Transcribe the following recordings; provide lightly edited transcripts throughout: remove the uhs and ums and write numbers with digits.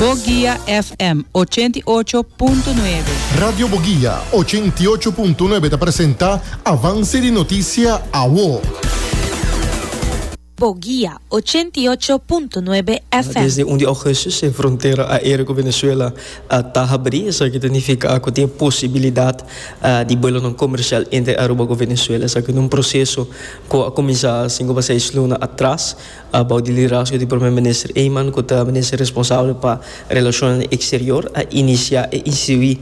Boguia FM 88.9. Radio Boguia 88.9 ta presenta Avance di Noticia Awo. Boguia 88.9 FM. Desde un di augustus e frontera aereo ku Venezuela ta habrí. Esaki ta nifiká ku tin e posibilidat di buelonan komersial entre Aruba ku Venezuela. Esaki ta un proseso ku a kuminsá sinku pa seis luna atras bou di liderazgo di Prome Minister Eman ku ta minister responsabel pa relashonnan eksterior a inisiá e instituí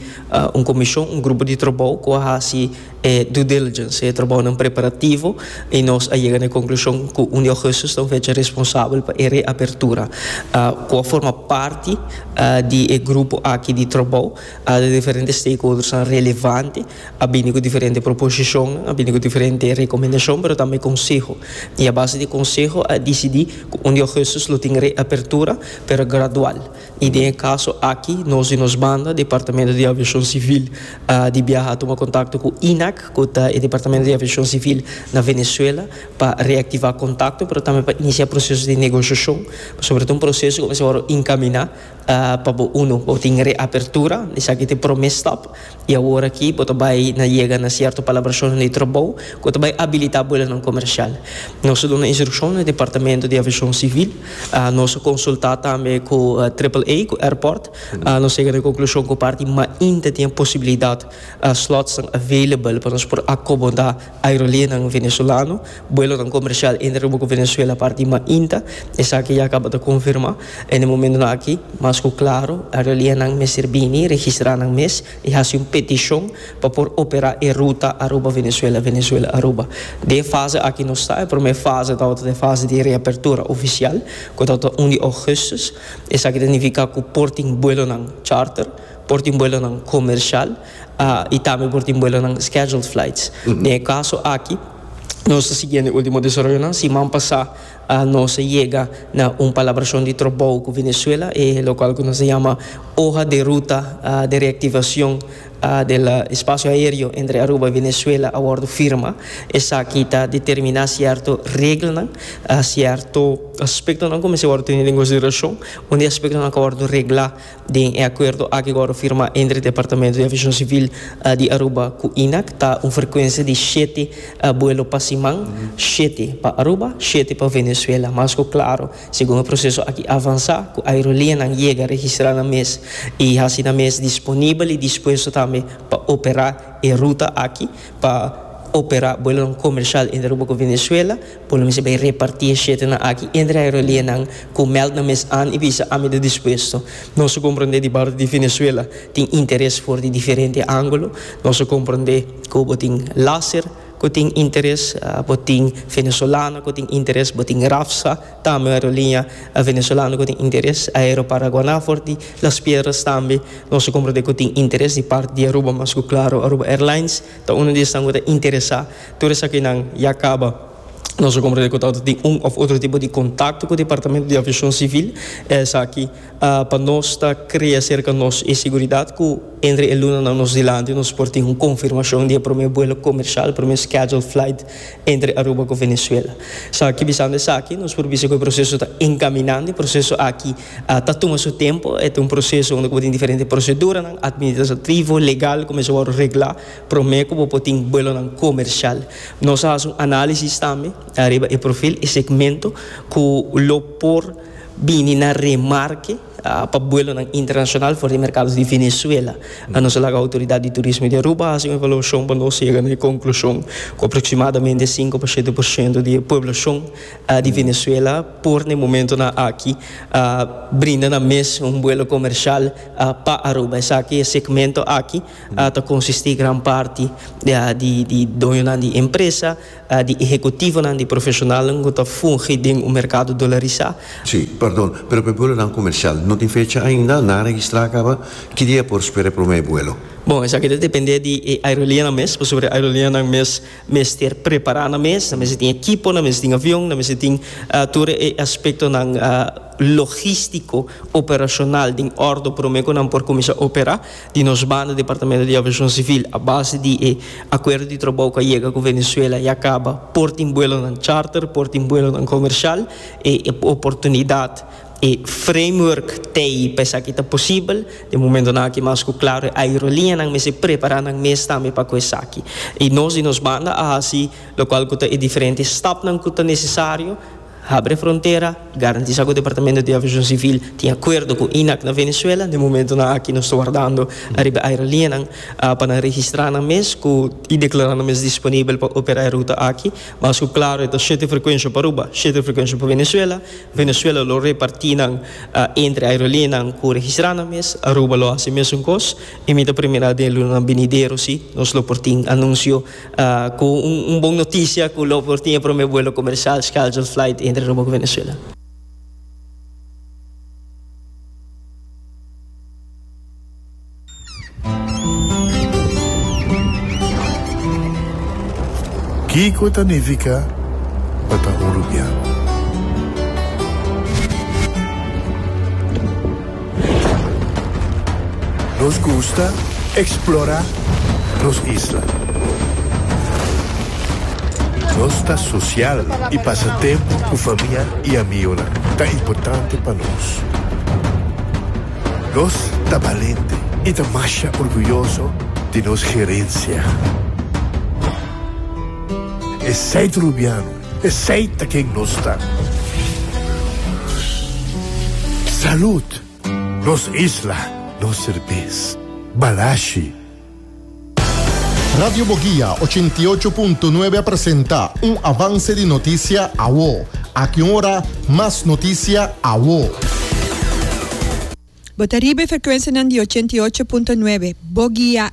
un komishon, un grupo di trabou ku a hasi E due diligence, e trabounan preparativo y nos a yega na e conclusion cu un di augustus ta un fecha responsabel pa e reapertura. Cu a forma parti di e grupo aki di trabou, di diferente stakeholdersnan relevante a bini cu diferente proposicionnan, a bini cu diferente recomendacion pero tambe conseho. Y a base di conseho a dicidi cu un di augustus lo tin reapertura pero gradual. I den e kaso aki nos di nos banda, Departamento di Aviashon Sivil di biaha a tuma kontakto ku INAC, ku ta e Departamento di Aviashon Sivil na Venezuela, pa reaktivá kontakto, pero tambe pa inisiá proseso di negoshashon, pasobra ta un proseso ku mester wòrdu inkaminá pa bo unu bo tin reapertura, esaki ta e promé stap. I awor aki bo ta bai na yega na sierto palabrashonnan di trabou ku ta bai abilitá buelonan komersial. Nos a duna instrukshon na e Departamento di Aviashon Sivil. Nos a konsultá tambe ku Triple A, ku airport. Nos yega na e konklushon ku parti mainta tin e posibilidat slotsnan available pa nos por akomodá aerolineanan venezolano, buelonan komersial entre Aruba ku Venezuela parti mainta. Esaki ya kaba ta konfirmá. En e momentonan aki, mas ku klaro, aerolineanan mester bini registrá nan mes i hasi un petishon pa por operá e ruta Aruba-Venezuela, Venezuela-Aruba. Den e fase aki nos ta, e promé fase tabata e fase di reapertura ofisial, ku tabata un di ougùstus. Esaki ta nifiká ku por tin buelonan charter, por tin buelonan komershal i tambe por tin buelonan scheduled flights. Den e kaso aki, nos ta siguiendo e último desaroyonan. Siman pasá nos a yega na un palabrashon di trabou ku Venezuela, e lokual ku nos a yama hoja de ruta de reactivacion del espacio aereo entre Aruba y Venezuela a wòrdu firma. Esaki ta determiná sierto reglanan, sierto aspektonan ku mester wòrdu tene den konsiderashon. Un di e aspektonan ku a wòrdu reglá Den e akuerdo aki ku a wòrdu firmá entre Departamento di Aviashon Sivil di Aruba ku INAC ta un frekuensia di shete buelo pa siman, shete pa Aruba, shete pa Venezuela. Mas ku klaro, segun e proseso aki avansá, ku aerolineanan yega registrá nan mes i hasi nan mes disponibel i dispuesto tambe pa operá e ruta aki pa operá buelonan komershal entre Aruba ku Venezuela. Por lo mester bai repartí e shetenan aki entre aerolineanan ku mèld nan mes an i bisa ami ta dispuesto. Nos a komprondé di parti di Venezuela tin interes for di diferente ángulo. Nos a komprondé ku bo tin Láser ku tin interes, bo tin Venezolano ku tin interes, bo tin Rafsa tambe un aerolinea venezolano ku tin interes, Aeroparaguaná for di Las Piedras tambe nos a komprondé ku tin interes di parti di Aruba mas ku klaro Aruba Airlines ta uno di esnan ku ta interesá. Tur esakinan ya kaba. Nos a komprendé ku tabata tin un òf otro tipo di kontakto ku Departamento di Aviashon Sivil. Esaki pa nos ta krea serka nos e siguridat ku entre e lunanan nos dilanti nos por tin un konfirmashon di e promé buelo komershal, promé scheduled flight entre Aruba ku Venezuela. Esaki bisando esaki nos por bisa ku e proseso ta enkaminando. E proseso aki ta tuma su tempu. E ta un proseso unda ku bo tin diferente proseduranan administrativo, legal ku mester wòrdu reglá. Promé ku bo por tin buelonan komershal. Nos a hasi un análisis tambe riba e profil, e segmento ku lo por bini na remarke pa buelonan internashonal for di merkado di Venezuela. Nos a laga Outoridat di Turismo di Aruba hasi un evaluashon pa nos yega na e konklushon ku aproksimadamente sinku pa shete por shento di e pueblashon di Venezuela por na e momentonan aki brinda nan mes un buelo komershal pa Aruba. Esaki e segmento aki. Ta konsistí gran parti di doñonan di empresa, di ehekutivonan, di profeshonalnan ku ta fungi den un merkado dolarisá. Sí, perdon, pero pa e buelonan komersial no tin fecha ainda? Nan a registrá kaba? Ki dia por spera e promé buelo? Bon, esaki ta dependé di e aerolineanan mes, pasobra e aerolineanan mes mester prepará nan mes, nan mester tin ekipo, nan mester tin avion, nan mester tin tur e aspektonan logístiko, operashonal den òrdu promé ku nan por kuminsá operá. Di nos banda Departamento di Aviashon Sivil a base di e akuerdo di trabou ku a yega ku Venezuela ya kaba por tin buelonan charter, por tin buelonan komershal. E oportunidat E framework t'ei pa esaki ta posibel. Den momentonan aki mas ku klaro e aeroliñanan mester prepará nan mes tambe pa ku esaki. I nos di nos banda a hasi lokual ku ta e diferente stapnan ku ta nesesario, habri e frontera, garantisá ku Departamento di Aviashon Sivil tin akuerdo ku INAC na Venezuela. Den momentonan aki nos ta wardando ariba e aeroliñanan pa nan registrá nan mes ku i deklará nan mes disponibel pa operá e ruta aki. Mas ku klaro e ta shete frekuensha pa Aruba, shete frekuensha pa Venezuela. Venezuela lo repartí nan entre aerolineanan ku registrá nan mes, Aruba lo hasi mesun kos i mi ta primirá den e lunanan binidero si nos lo por tin anunsio ku un bon notisia ku lo por tin e promé buelo komersial scheduled flight entre Aruba ku Venezuela. Kiko ta nifiká pa ta un rubiano? Nos gusta eksplorá nos isla. Nos ta sosial i pasa tempu ku famia i amionan ta importante pa nos. Nos ta balente i ta masha orguyoso di nos gerensia. Esei ta Rubiano, esei ta ken nos ta. Salud! Nos isla, nos serbes. Balashi! Radio Boguia 88.9 a presenta un avance di noticia awo. Aki un ora, mas noticia awo. Bo ta riba e frekuensianan di 88.9 Boguia.